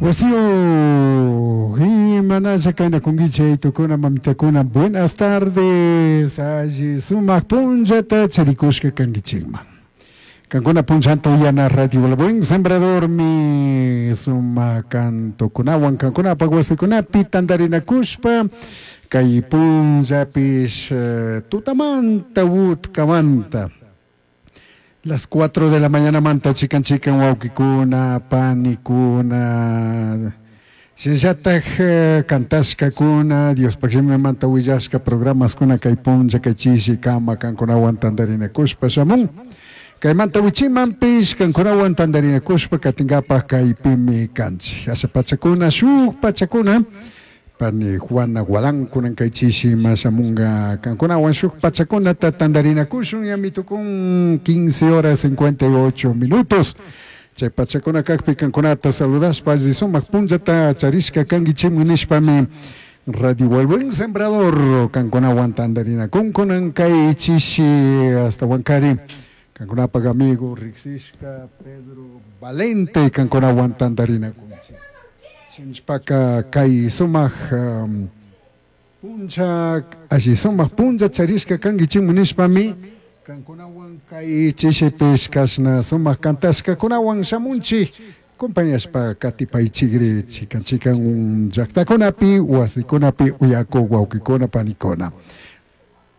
Wasiyu, imanalla kaynakunkichik tukuna mamitakuna, buenas tardes, alli sumak punllata charikushka kankichikman. Kankuna punllanta uyana Radio El Buen Sembradormi sumak kantukunawan kankunapak wasikunapi tantarinakushpa kay punllapish tutamanta utkamanta las 4 de la mañanamanta chikan chikan wawkikuna, panikuna, shinallatak kantashkakuna, Diospaj shimimanta willashka programaskuna kay punlla kay chishi kama kankunawan tantarinakushpa shamun. Kaymanta wichimanpish kankunawan tantarinakushpa katinkapak kaypimi kanchik. Asha pachakuna, shuk pachakuna, pani Juana Guadán kunan kay chishi mashamunga kankunawan shuk pachakunata tantarinakushun ñami tukun 15 horas 58 minutos. Chay pachakuna kakpi kankunata saludashpa alli sumak punllata charishka kankichikmi nishpami Radio El Buen Sembrador kankunawan tantarinakun kunan kay chishi hasta Huancari kankunapak amigo riksishka Pedro Valente kankunawan tantarinakunchik. Shinashpaka kay sumak punlla alli sumak punlla charishka kankichikmi nishpami kankunawan kay chishipish kashna sumak kantashkakunawan shamunchik compañashpa katipaychikri chikan chikan llaktakunapi wasikunapi uyakuk wawkikuna panikuna.